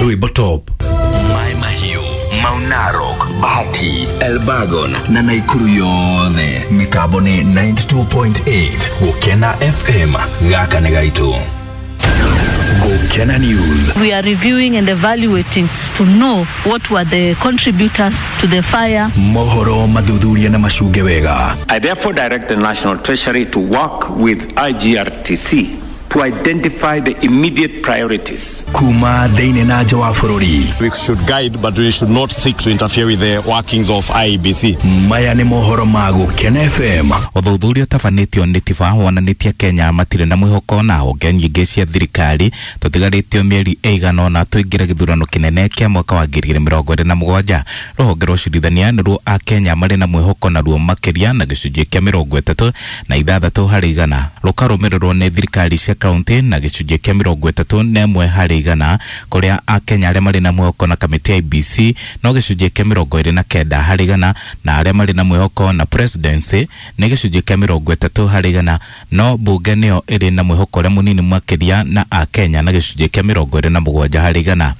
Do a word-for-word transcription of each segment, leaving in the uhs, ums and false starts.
Rwimbo top. Mai Mahiu, Mount Narok, Bahati, Elbagon na Naikuru yothe mitambo ni ninety-two point eight Gukena F M gaka nĩ gaitũ. Gukena News. We are reviewing and evaluating to know what were the contributors to the fire. Mohoro mathuthuria na macunge wega. I therefore direct the National Treasury to work with I G R T C to identify the immediate priorities. Kuma thĩinĩ na nja wa bũrũri. We should guide, but we should not seek to interfere with the workings of I E B C. Maya nĩ mohoro ma Gukena F M. Ũthuthuria ũtabanĩtio nĩ TIFA wonanĩtie Kenya matirĩ na mwĩhoko na honge nyingĩ cia thirikari tũtigarĩtio mĩeri ĩigana ũna tũingĩre gĩthurano kĩnene kĩa mwaka wa ngiri igĩrĩ mĩrongo ĩrĩ na mũgwanja. Rũhonge rwa ũcirithania nĩruo Akenya marĩ na mwĩhoko naruo makĩria na gĩcunjĩ kĩa mĩrongo ĩtatũ na ithathatũ harĩ igana, rũkarũmĩrĩrwo nĩ thirikari cia kaunti na gĩcunjĩ kĩa mĩrongo ĩtatũ na ĩmwe harĩ igana, kũrĩa Akenya arĩa marĩ na mwĩhoko na kamĩtĩ ya I B C no gĩcunjĩ kĩa mĩrongo ĩrĩ na kenda harĩ igana, na arĩa marĩ na mwĩhoko na presidency nĩ gĩcunjĩ kĩa mĩrongo ĩtatũ harĩ igana, no bunge nĩyo ĩrĩ na mwĩhoko ũrĩa mũnini makĩria na Akenya na gĩcunjĩ kĩa mĩrongo ĩrĩ na mũgwanja harĩ igana.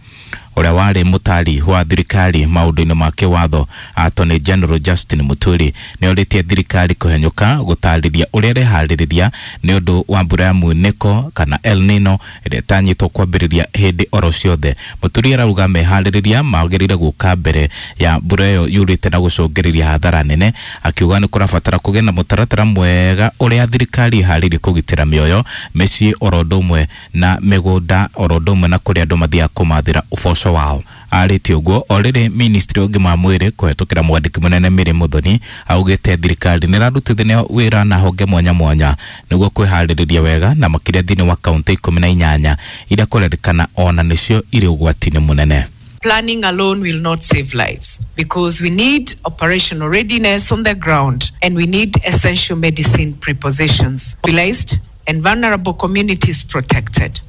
Ũrĩa warĩ mũtari wa thirikari maũndũ-inĩ ma kĩwatho Attorney General Justin Muturi nĩorĩtie thirikari kũhenyũka gũtarĩria ũrĩa ĩreharĩrĩria nĩ ũndũ wa mbura ya mwĩnĩko kana El Nino ĩrĩa ĩtanyĩtwo kwambĩrĩria hĩndĩ oro ciothe. Muturi arauga meharĩrĩria magĩrĩire gũka mbere ya mbura ĩyo yurĩte na gũcũngĩrĩria hathara nene, akiuga nĩ kũrabatara kũgĩa na mũtaratara mwega ũrĩa thirikari ĩharĩirie kũgitĩra mĩoyo, mĩciĩ oro ũndũ ũmwe na mĩgũnda oro ũndũ ũmwe na kũrĩa andũ mathiaga kũmathĩra ũboco wao. Arĩtie ũguo o rĩrĩ ministry ũgima wa mwĩrĩ kũhetũkĩra mwandĩki mũnene Mary Muthoni augĩte thirikari nĩrarutithania wĩra na honge mwanya mwanya nĩguo kwĩharĩrĩria wega na makĩria thĩinĩ wa kaunti ikũmi na inyanya iria kũrerĩkana ona nĩcio irĩ ũgwati-inĩ mũnene. Planning alone will not save lives because we need operational readiness on the ground and we need essential medicine prepositions mobilized and vulnerable communities protected.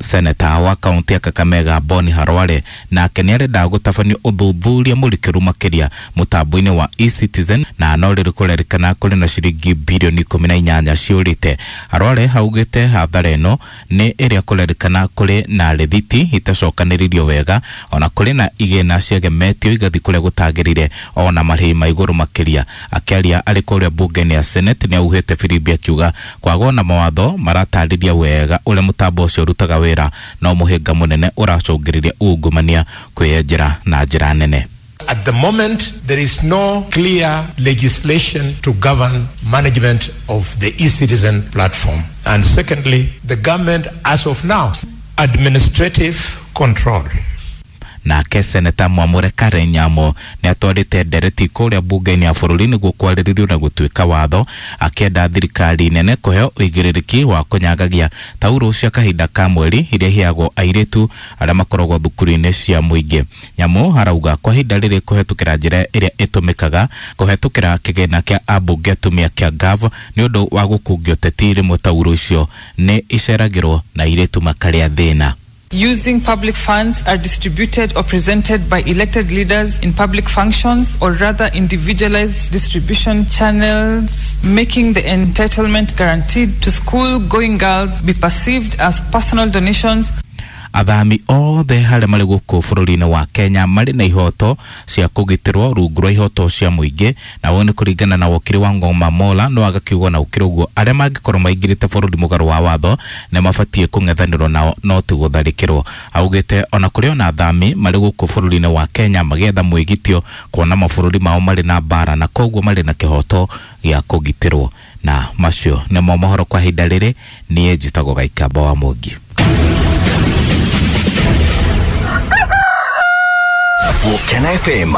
Seneta wa kaunti ya Kakamega Boni Harware nake nĩarenda gũtabania ũthuthuria mũrikĩru makĩria mũtambo-inĩ wa eCitizen na no rĩrĩ kũrerĩkana kũrĩ na ciringi bilioni ikũmi na inyanya ciũrĩte. Harware augĩte hathara ĩno nĩ ĩrĩa kũrerĩkana kũrĩ na rĩthiti itacokanĩrĩirio wega ona kũrĩ na igĩna ciagemetio igathiĩ kũrĩa gũtagĩrĩire ona marĩhi ma igũrũ makĩria. Akĩaria arĩ kũrĩa bunge-inĩ ya Senate nĩauhĩte firimbi akiuga kwagwo na mawatho maratarĩria wega ũrĩa mũtambo ũcio ũrutaga wĩra no mũhĩnga mũnene ũracũngĩrĩria ungumania kwĩyenjera na njĩra nene. At the moment, there is no clear legislation to govern management of the eCitizen platform. And secondly, the government, as of now, administrative control. Nake Seneta Mwamure Karen Nyamo nĩatwarĩte ndereti kũrĩa bunge-inĩ ya bũrũri nĩguo kwarĩrĩrio na gũtuĩka watho, akĩenda thirikari nene kũheo ũigĩrĩrĩki wa kũnyangagia taurũ cia kahinda ka mweri iria iheagwo airĩtu arĩa makoragwo thukuru-inĩ cia mũingĩ. Nyamo arauga kwa ihinda rĩrĩ kũhetũkĩra njĩra ĩrĩa ĩtũmĩkaga kũhetũkĩra kĩgĩna kĩa ambunge atumia kĩa G A V nĩ ũndũ wa gũkungio ũteti rĩmwe taurũ icio nĩ iceragĩrwo na airĩtu makarĩa thĩna. Using public funds are distributed or presented by elected leaders in public functions or rather individualized distribution channels, making the entitlement guaranteed to school-going girls be perceived as personal donations. Athami othe harĩa marĩ gũkũ bũrũri-inĩ wa Kenya marĩ na ihoto cia kũgitĩrwo rungu rwa ihoto cia mũingĩ, na ũũ nĩ kũringana na wokiri wa Ngoma Mola no agakiuga na ũkĩrĩ ũguo arĩa mangĩkorwo maingĩrĩte bũrũri mũgarũ wa watho nĩ mabatiĩ kũng'ethanĩrwo nao no ti gũtharĩkĩrwo. Augĩte ona kũrĩ ona athami marĩ gũkũ bũrũri-inĩ wa Kenya magĩetha mwĩgitio kuona mabũrũri mao marĩ na mbara na koguo marĩ na kĩhoto gĩa kũgitĩrwo. Na macio nĩmo mohoro kwa ihinda rĩrĩ. Niĩ njĩtagwo Gaikamba wa Mwangi. Gukena F M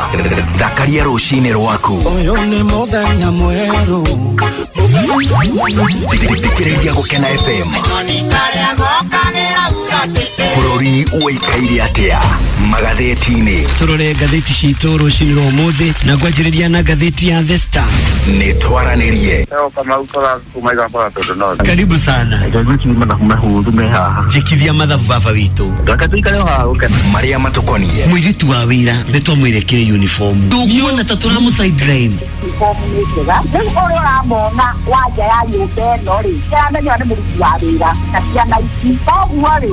thakaria rũcinĩ rwaku. Ũyũ nĩ mũthenya mwerũ. Thikĩrĩria Gukena F M. Bũrũri ũikaire atĩa magathĩti-inĩ? Tũrore ngathĩti citũ rũcinĩ rwa ũmũthĩ na ngwanjĩrĩria na ngathĩti ya The Star. Nĩ twaranĩrie. Karibu sana. Njĩkithia mathabu baba witũ. Marĩa matũkoniĩ. Mũirĩtu wa wĩra nĩ twamwĩre kĩrĩ uniform. Ndũkuona ta tũramũ sideline. Uniform nĩ njega. Rĩu ũrĩa ũramona wa nja ya nyũmba ĩno rĩ, nĩaramenya nĩ mũruti wa wĩra na ciana ici. Koguo rĩ,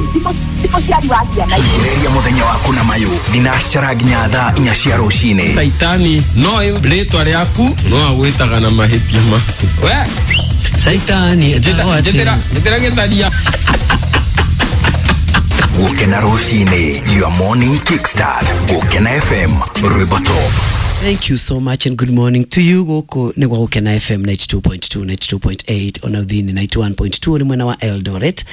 Ti mũciari wa ciana ici. Ambĩrĩria mũthenya waku na mayũ thinacara nginya thaa inya cia rũcinĩ. Caitani no rĩtwa rĩaku no agwĩtaga na mahĩtia maku. We Caitani etagwo atĩa? Njĩtĩra gĩtharia. Gũkena rũcinĩ, your morning kickstart. Gũkena F M, rwĩmbo top. Thank you so much and good morning to you. Gũkũ nĩ gwa Gũkena F M ninety-two point two, ninety-two point eight, ona thĩinĩ ninety-one point two ũrĩ mwena wa Eldoret.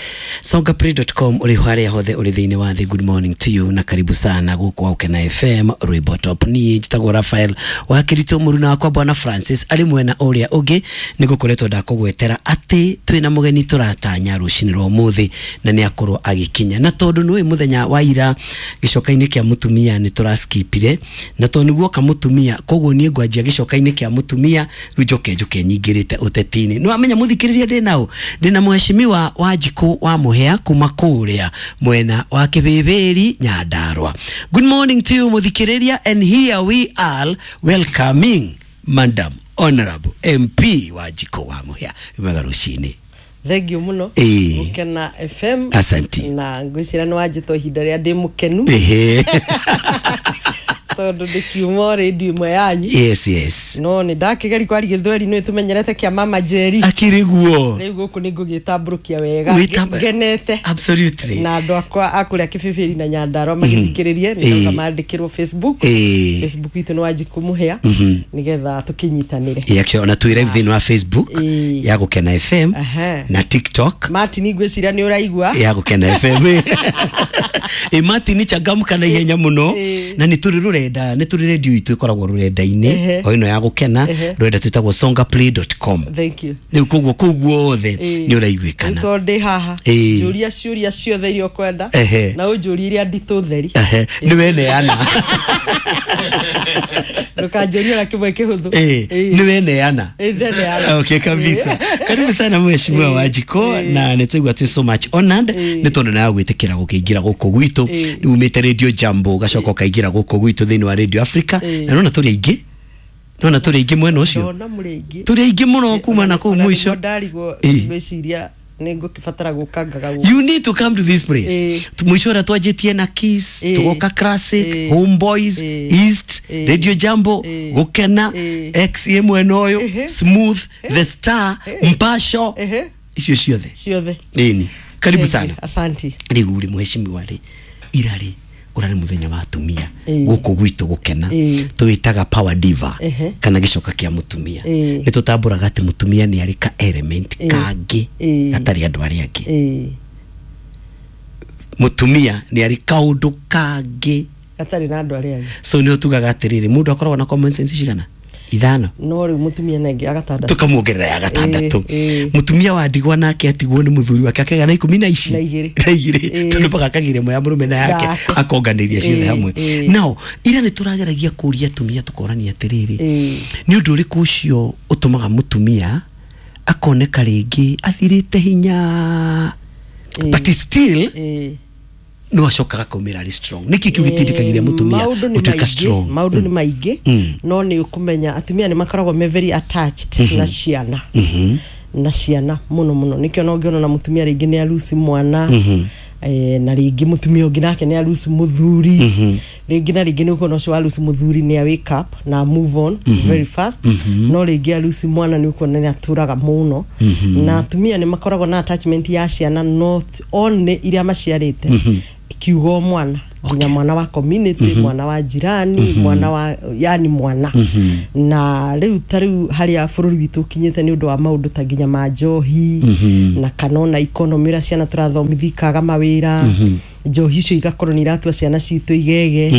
Songaplay dot com ũrĩ harĩa hothe ũrĩ thĩinĩ wa thĩ. Good morning to you na karibu sana gũkũ gwa Gũkena F M rwĩmbo top. Niĩ njĩtagwo Raphael wa Kirito, mũruna wakwa Bwana Francis arĩ mwena ũrĩa ũngĩ. Nĩ gũkoretwo ndakũgwetera atĩ twĩna mũgeni tũratanya rũcinĩ rwa ũmũthĩ na nĩ akorwo agĩkinya, na tondũ nĩũĩ mũthenya wa ira gĩcoka-inĩ kĩa mũtumia nĩ tũraskipire, na tondũ nĩguo ka mũtumia, koguo niĩ ngwanjia gĩcoka-inĩ kĩa mũtumia rĩu njoke njoke nyingĩrĩte ũteti-inĩ. Nĩ wamenya mũthikĩrĩria ndĩ nao, ndĩ na mheshimiwa Wanjikũ wa Mũhĩa kuma kũrĩa mwena wa Kĩbĩbĩri Nyandarua. Good morning to you mũthikĩrĩria, and here we are welcoming Madam Honorable M P Wanjikũ wa Mũhĩa. Wega rũcinĩ. Thank you muno. Gũkena F M. Asanti. Na ngwĩciria nĩ wanjĩtwo ihinda rĩrĩa ndĩ mũkenu. Ehe. Tondũ ndĩkiuma radio ĩmwe yanyu. Yes, yes. No nĩ ndakĩgeria kwaria gĩthweri nĩ tũmenyerete kĩa Mama Jerry. Akĩrĩ guo. Rĩu gũkũ nĩ ngũgĩtambũrũkia wega. Ngenete. Absolutely. Na andũ akwa a kũrĩa Kĩbĩbĩri na Nyandarua magĩthikĩrĩrie nĩ ndauga mandĩkĩrwo Facebook. Facebook itũ nĩ Wanjikũ Mũhĩa nĩgetha tũkĩnyitanĩre. Yeah, actually ona twĩ live thĩinĩ wa Facebook ya Gũkena F M na TikTok. Martin ngwĩciria nĩ ũraigua. Ya Gũkena F M. E Martin changamka na ihenya mũno na nĩ tũrĩ rũrenda, nĩ tũrĩ radio itũ ĩkoragwo rũrenda-inĩ o ĩno ya Gũkena, rũrenda twĩtagwo songaplay dot com. Thank you. Rĩu koguo kũu guothe nĩ ũraiguĩkana. Tondũ ndĩ haha njũria ciũria ciothe iria ũkwenda na ũnjũrie iria nditũ theri. Nĩ weneana. Ndũkanjũrie ona kĩmwe kĩhũthũ. Nĩ weneana. Okay, kabisa. Karibu sana mheshimiwa Wanjikũ, na nĩ twaigua twĩ so much honored nĩ tondũ nawe gwĩtĩkĩra gũkĩingĩra gũkũ gwitũ. Umĩte Radio Jambo ũgacoka ũkaingĩra gũkũ gwitũ thĩinĩ wa Radio Africa, na nona tũrĩ aingĩ, nona tũrĩ aingĩ mwena ũcio, tũrĩ aingĩ mũno kuma na kũu mũico. Ndarigwo ngwĩciria nĩ ngũkĩbatara gũkangaga gũkũ. You need to come to this place. Mũico ũrĩa twanjĩtie na Kiss, tũgoka Classic, Homeboys, East, Radio Jambo, Gũkena, X A mwena ũyũ, Smooth, The Star, Mpasho, icio ciothe ciothe. Ĩni, karibu sana. Asante. Rĩu rĩ mheshimiwa rĩ, ira rĩ ũrarĩ mũthenya wa atumia gũkũ gwitũ Gũkena, tũwĩtaga Power Diva kana gĩcoka kĩa mũtumia. Nĩ tũtambũraga atĩ mũtumia nĩ arĩ ka element kangĩ gatarĩ andũ arĩa angĩ. Mũtumia nĩ arĩ kaũndũ kangĩ gatarĩ na andũ arĩa angĩ. So nĩ tugaga atĩrĩrĩ, mũndũ akoragwo na common sense cigana? Ithano. No rĩu mũtumia nengĩ agatandatũ, tũkamuongerera ya gatandatũ. Mũtumia wa ndigwa nake atigwo nĩ mũthuri wake akagĩa na ikũmi na ici na igĩrĩ na igĩrĩ, tondũ mpaka akagĩra ĩmwe ya mũrũme na yake akonganĩria ciothe hamwe. Nao ira nĩ tũrageragia kũria atumia tũkorania atĩrĩrĩ, nĩ ũndũ ũrĩkũ ũcio ũtũmaga mũtumia akoneka rĩngĩ athirĩte hinya, but still no acokaga kaumĩra arĩ strong? Nĩkĩ kĩu gĩtindĩkagĩria mũtumia gũtuĩka strong? Maũndũ nĩ maingĩ, no nĩ ũkũmenya atumia nĩ makoragwo me very attached na ciana, na ciana mũno mũno. Nĩkĩo no ũngĩona na mũtumia rĩngĩ nĩ aruci mwana, na rĩngĩ mũtumia ũngĩ nake nĩ aruci mũthuri, rĩngĩ na rĩngĩ nĩ ũkuona ũcio aruci mũthuri nĩ a wake up na move on very fast, no rĩngĩ aruci mwana nĩ ũkuona nĩ atũraga mũno. Na atumia nĩ makoragwo na attachment ya ciana not only iria maciarĩte, kiugo mwana nginya mwana wa community, mwana wa jirani, mwana wa yani mwana. Na rĩu ta rĩu harĩa bũrũri witũ ũkinyĩte nĩ ũndũ wa maũndũ ta nginya ma njohi na kana ona economy ũrĩa ciana tũrathomithia ikaga mawĩra, njohi icio igakorwo nĩ iratua ciana citũ igege.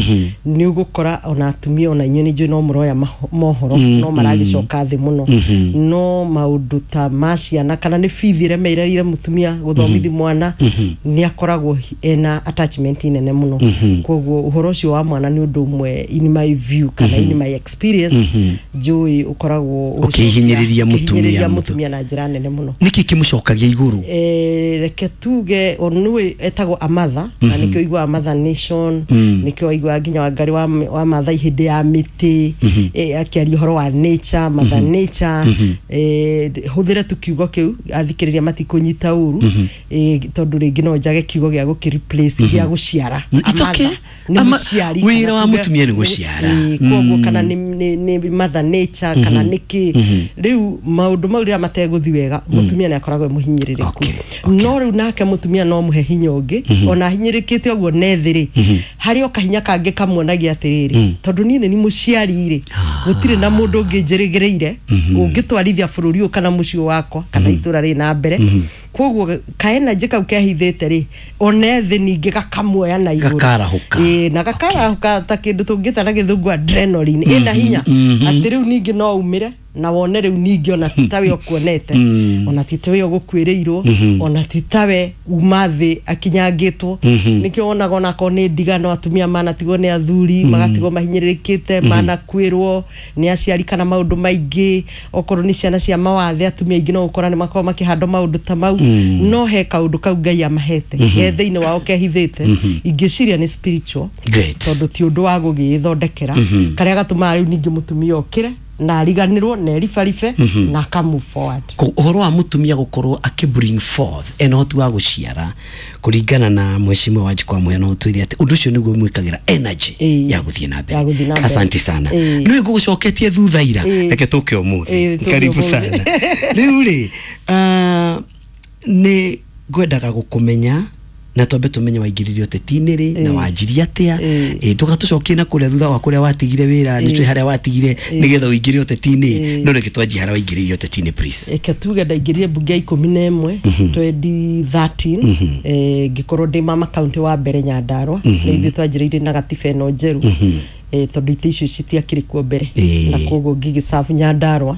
Nĩ ũgũkora ona atumia ona inyuĩ nĩ njũĩ no mũroya mohoro no maragĩcoka thĩ mũno. No maũndũ ta ma ciana kana nĩ bithi ĩremeire mũtumia gũthomithi mwana, nĩ akoragwo ena attachment nene mũno. Koguo ũhoro ũcio wa mwana nĩ ũndũ ũmwe in my view kana in my experience njũĩ ũkoragwo ũkĩhinyĩrĩria mũtumia mũtumia na njĩra nene mũno. Nĩkĩ kĩmũcokagia igũrũ? Eh, reke tuge onwe etagwo a mother na nĩkĩo iguaga Mother Nation, nĩkĩo iguaga nginya Wangari wa, wa Maathai hĩndĩ ya mĩtĩ, eh, akĩaria ũhoro wa nature, Mother Nature. eh, hũthĩre tu kiugo kĩu, athikĩrĩria matikũnyita ũru, eh, tondũ rĩngĩ no njage kiugo gĩa gũkĩ replace gĩa gũciara. It's okay. A mother nĩ Ama- mũciari, wĩra kana wa tuge- mũtumia nĩ gũciara. Eh, koguo kana nĩ nĩ- nĩ Mother Nature kana nĩkĩ, rĩu maũndũ mau rĩrĩa mategũthi wega, mũtumia nĩ akoragwo e mũhinyĩrĩrĩku. Okay, No rĩu nake mũtumia no mũhe hinya ũngĩ, ona ahinyĩrĩkĩte ũguo nethĩ rĩ, harĩ o kahinya kangĩ kamuonagia atĩrĩrĩ, tondũ niĩ nĩ ni mũciari rĩ, gũtirĩ na mũndũ ũngĩ njĩrĩgĩrĩire ũngĩtwarithia bũrũri ũyũ kana mũciĩ wakwa kana itũra rĩ na mbere. Koguo kaenanjĩ kau kehithĩte rĩ, ona ethĩ ningĩ gakamuoya na igũrũ. Gakarahũka. Ĩĩ, na gakarahũka ta kĩndũ tũngĩta na Gĩthũngũ adrenaline ĩna hinya, atĩ rĩu ningĩ no umĩre na wone rĩu ningĩ ona ti tawe ũkuonete, ona ti tawe ũgũkuĩrĩirwo, ona ti tawe uma thĩ akinyangĩtwo. Nĩkĩo wonaga onakorwo nĩ ndigano, atumia manatigwo nĩ athuri, magatigwo mahinyĩrĩrĩkĩte, manakuĩrwo nĩ aciari kana maũndũ maingĩ, okorwo nĩ ciana cia mawathe, atumia aingĩ no ũkora nĩ makoragwo makĩhandwo maũndũ ta mau. No he kaũndũ kau Ngai amahete ge thĩinĩ wao kehithĩte, ingĩciria nĩ spiritual, Great. tondũ ti ũndũ wa gũgĩĩthondekera, karĩa gatũmaga rĩu ningĩ mũtumia okĩre na ariganĩrwo na eribaribe na aka move forward. Ko- ũhoro wa mũtumia gũkorwo akĩ bring forth ena ũhoti wa gũciara, kũringana na mheshimiwa Wanjikũ wa Mũhĩa, no ũtwĩre atĩ ũndũ ũcio nĩguo mwĩkagĩra energy Ĩĩ. ya gũthiĩ na Ya mbere. gũthiĩ na mbere. Asante sana. Ĩĩ. Nĩwe ngũgũcoketie thutha ira. Ĩĩ. Reke tũke ũmũthĩ. Ĩĩ, tũke Karibu ũmũthĩ. sana. Rĩu rĩ, ah, nĩ ngwendaga gũkũmenya na twambe tũmenye waingĩrire ũteti-inĩ rĩ na Ĩĩ. wanjirie atĩa. Ĩĩ. Ĩĩ, ndũgatũcokie na kũrĩa thutha wa kũrĩa watigire wĩra, nĩ tũĩ harĩa watigire nĩgetha ũingĩre ũteti-inĩ, Ĩĩ. no reke twanjie harĩa waingĩrire ũteti-inĩ, please. Reke tuge ndaingĩrire mbunge ya ikũmi na ĩmwe twenty thirteen, eh, ngĩkorwo ndĩ mama kaunti wa mbere Nyandarua. Nĩ ithuĩ twanjĩrĩirie na gatiba ĩno njerũ, eh, tondũ itĩ icio citiakĩrĩ kuo mbere, Ĩĩ. na koguo ngĩgĩcabu Nyandarua.